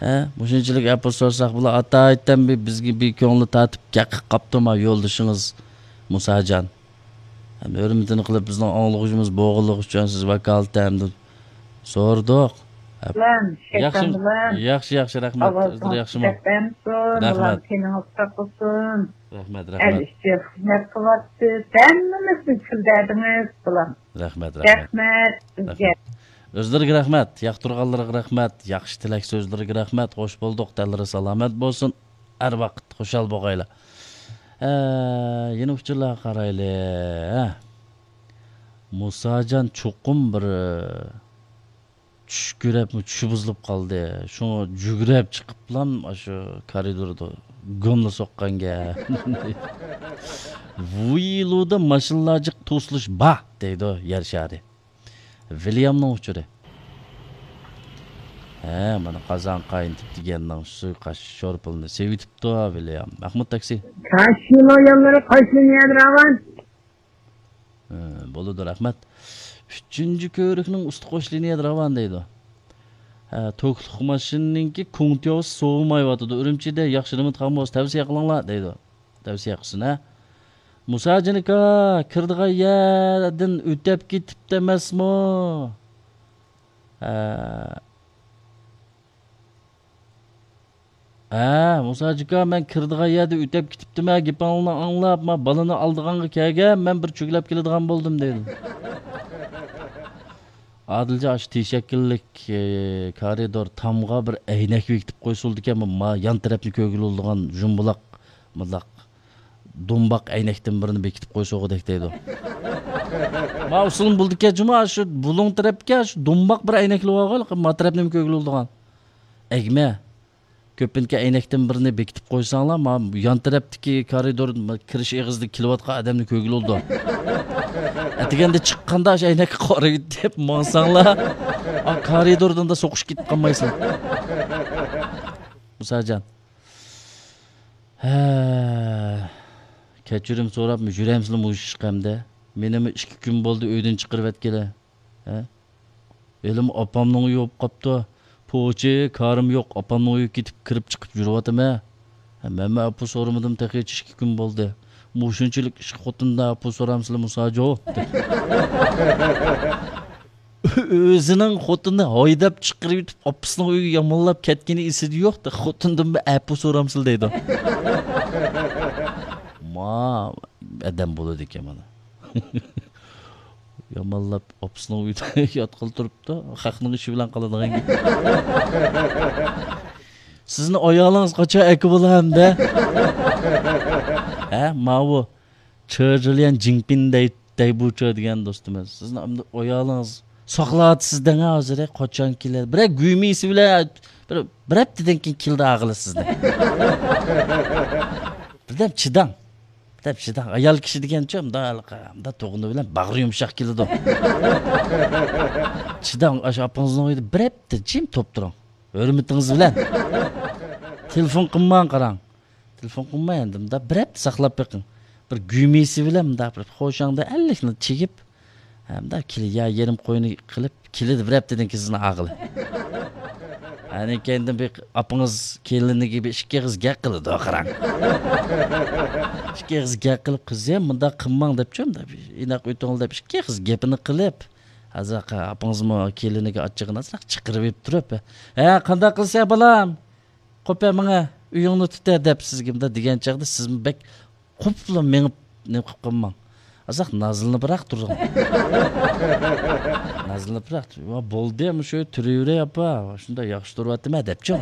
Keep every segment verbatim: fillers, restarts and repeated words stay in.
ھە، مۇشۇنچىلىك ئەپۇ سورىساق بۇلار ئاتايتەن بىر بىزگە بىر كۆڭلى تارتىپ گەپ قىلىپ قاپتۇما يولدىشىڭىز مۇساجان. ھەم ھۆرمىتىنى قىلىپ بىزنىڭ ئاڭلىغۇچىمىز بولغانلىقى ئۈچۈن سىز ۋاكالىتەن ھەمدە سورىدۇق. بىلەن، ياخشى، شەيتان بىلەن. ياخشى، ياخشى، رەھمەت. ئاۋازىڭىز ئۆزلىرى ياخشىمۇ؟ رەھمەت. تېنىڭىز ساق بولسۇن. رەھمەت، ئەل رەھمەت. ئىچى خىزمەت قىلىۋاتىسىز. ھەممىمىزنى چۈشۈندۈردىڭىز بۇلار. رەھمەت، رەھمەت. رەھمەت سىزگە. رەھمەت. ئۆزلىرىگە رەھمەت، ياقتۇرغانلىرىغا رەھمەت، ياخشى تىلەك سۆزلىرىگە رەھمەت، خوش بولدۇق، تەنلىرى سالامەت بولسۇن، ھەر ۋاقىت خۇشال بولغايلا. ئە، يەنە ئۇچۇرلارغا قارايلى. ھە. مۇساجان چوقۇم بىر، ئە، چۈش كۆرۈپمۇ چۈشى بۇزۇلۇپ قالدى. شۇڭا جۈگرەپ چىقىپلام ئاشۇ كارىدوردا گۇملا سوققان گەپ. ۋۇيلۇدا ماشىنىلار جىق توسۇلۇش بار دەيدۇ يەر شارى. ۋىليامنىڭ ئۇچۇرى. ھە، مانا قازان قاينىتىپ دېگەننىڭ سۇيۇقئاش شورپىلىنى سېۋىتىپتۇ ۋىليام. مەخمۇت تاكسى. كاشىنو يوللىرى قايسى يەردە راۋان؟ ھە، بولىدۇ، رەھمەت. ئۈچىنچى كۆۋرۈكنىڭ ئۈستى قوش لىنىيەدە راۋان دەيدۇ. ھە، توكلۇق ماشىنىنىڭكى كۇڭتيوسى سوۋۇمايۋاتىدۇ. ئۈرۈمچىدە ياخشى رېمونت قىلغان بولسا تەۋسىيە قىلىڭلار دەيدۇ. تەۋسىيە قىلسۇن، ھە. مۇساجىنكا كىرىدىغان يەردىن ئۆتەپ كېتىپتۇ ئەمەسمۇ؟ ھە. ھە، مۇساجىكا، مەن كىرىدىغان يەردە ئۆتەپ كېتىپتىمەن، گېپىڭلارنى ئاڭلاپ، ما بالىنى ئالىدىغانغا كەلگەن، مەن بىر چۆگىلەپ كېلىدىغان بولدۇم، دېدىم. ئادىلجان، ئاشۇ تىشەككىلىك، ئى، كارىدور تامغا بىر ئەينەك بېكىتىپ قويسىلىدىكەن، ما يان تەرەپنى كۆرگىلى بولىدىغان جۇمبۇلاق، مۇنداق دۇمباق ئەينەكتىن بىرنى بېكىتىپ قويسىغۇدەك دەيدۇ. ما ئۇسۇلمۇ بولىدىكەن جۇمۇ، شۇ بۇلۇڭ تەرەپكە شۇ دۇمباق بىر ئەينەكلىك بارغۇ، ما تەرەپنىمۇ كۆرگىلى بولىدىغان. ئەگمە. كۆپۈنكى ئەينەكتىن بىرنى بېكىتىپ قويساڭلار، ما يان تەرەپتىكى كارىدور، ما كىرىش ئېغىزىدا كېلىۋاتقان ئادەمنى كۆرگىلى بولىدۇ. ئەتىگەندە چىققاندا شۇ ئەينەككە قارىۋېتىپ ماڭساڭلار، ئا، كارىدوردىن سوقۇشۇپ كېتىپ قالمايسىلەر. مۇساجان. ھە، كەچۈرۈم سوراپمۇ يۈرەمسىلە مۇشۇ ئىشقا ئەمدى؟ مېنىمۇ ئىككى كۈن بولدى ئۆيدىن چىقىرىۋەتكىلى. ھە؟ ھېلىمۇ ئاپامنىڭ ئۆيى بولۇپ قاپتۇ. پوچى، كارىم يوق، ئاپامنىڭ ئۆيىگە كېتىپ كىرىپ چىقىپ يۈرۈۋاتىمەن. ھە، مەنمۇ ئەپۇ سورىمىدىم تېخىچە ئىككى كۈن بولدى. مۇشۇنچىلىك ئىشقا خوتۇندىن ئەپۇ سورامسىلە مۇساجو؟ ئۆزىنىڭ خوتۇنىنى ھايداپ چىقىرىۋېتىپ، ئاپىسىنىڭ ئۆيىگە يامانلاپ كەتكىنى ئېسىدە يوق، خوتۇندىنمۇ ئەپۇ سورامسىلە دەيدۇ. ما ئادەم بولىدىكەن مانا. يامانلاپ ئاپىسىنىڭ ئۆيىدە ياتقىلى تۇرۇپتۇ، خەقنىڭ ئىشى بىلەن قالىدىغان گەپ. سىزنى ئايالىڭىز قاچان ئەكە بولا ئەمدى؟ ھە، ماۋۇ چېرجىليەن جىڭپىن دەي، دەيبۇچە دېگەن دوستىمىز. سىزنى ئەمدى ئايالىڭىز ساقلاۋاتىسىز دەڭ ھازىر، قاچان كېلەر؟ بىرەر گۈيمىسى بىلەن بىر، بىر ھەپتىدىن كېيىن كېلىدۇ ئاغىلى سىزنى. بىردەم چىداڭ. بىردەم چىداڭ. ئايال كىشى دېگەنچۇ، مۇنداق، مۇنداق تۇغۇنى بىلەن باغرى يۇمشاق كېلىدۇ. چىداڭ، ئاشۇ ئاپىڭىزنىڭ ئۆيىدە بىر ھەپتە جىم توپ تۇرۇڭ. ھۆرمىتىڭىز بىلەن. تېلېفون قىلماڭ، قاراڭ. تېلېفون قىلماي ئەمدى مۇنداق بىر ھەپتە ساقلاپ بېقىڭ. بىر گۈمىسى بىلەن مۇنداق بىر خۇشاڭدا ئەللىكنى چىگىپ، ھە، مۇنداق كېلە يا يېرىم قوينى قىلىپ، كېلىدۇ بىر ھەپتىدىن كېيىن سىزنىڭ ئاغىلى. ئاندىن كېيىن بىر ئاپىڭىز كېلىنىگە بىر ئىككى ئېغىز گەپ قىلىدۇ، قاراڭ. ئىككى ئېغىز گەپ قىلىپ، قىزىم، مۇنداق قىلماڭ دەپچۇ، مۇنداق بىر ئىناق ئۆتۈڭ دەپ ئىككى ئېغىز گېپىنى قىلىپ، ھازىر ئاپىڭىزمۇ كېلىنىگە ئاچچىقىنى ئازراق چىقىرىۋېلىپ تۇرۇپ، ھە، قانداق قىلىسەن بالام؟ قوپە ماڭە، ئۆيۈڭنى تۇتە دەپ سىزگە مۇنداق دېگەن چاغدا سىزمۇ بەك قوپۇپلا مېڭىپ نېمە قىلىپ قالماڭ. ئازراق نازلىنىپراق تۇرۇڭ. نازلىنىپراق تۇر-، ۋا بولدى، مۇشۇ تۇرۇۋېرەي ئاپا، شۇنداق ياخشى تۇرۇۋاتىمەن دەپچۇ.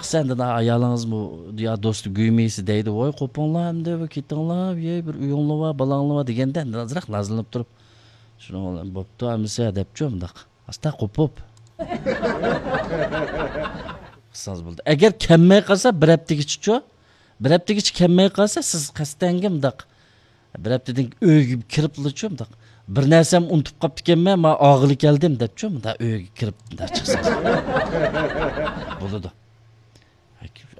قىسەندىن ئايالىڭىزمۇ يا دوستى گۈيمىسى دەيدۇ، ۋاي قوپۇڭلار ئەمدى، بىر كېتىڭلار، يەي بىر ئۆيۈڭلار بار، بالاڭلار بار دېگەندە ئازراق نازلىنىپ تۇرۇپ، شۇنىڭ بىلەن بوپتۇ ئەمىسە دەپچۇ مۇنداق. ئاستا قوپۇپ. قىلسىڭىز بولدى. ئەگەر كەلمەي قالسا، بىر ھەپتىگىچىچۇ؟ بىر ھەپتىگىچە كەلمەي قالسا، سىز قەستەنگە مۇنداق، بىر ھەپتىدىن ئۆيگە كىرىپلىچۇ مۇنداق، بىر نەرسەم ئۇنتۇپ قاپتىكەنمەن، ما ئاغىلى كەلدىم دەپچۇ، مۇنداق ئۆيگە كىرىپ مۇنداق چىقسىڭىز. بولىدۇ.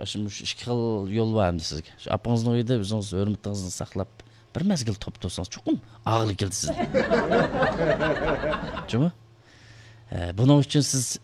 ئاشۇ، مۇشۇ ئىككى خىل يول بار ئەمدى سىزگە. شۇ ئاپىڭىزنىڭ ئۆيىدە ئۆزىڭىز ھۆرمىتىڭىزنى ساقلاپ، بىر مەزگىل توپ تۇرسىڭىز، چوقۇم ئاغىلى كېلىدۇ سىزنىڭ. جۇمۇ؟ ئە، بۇنىڭ ئۈچۈن سىز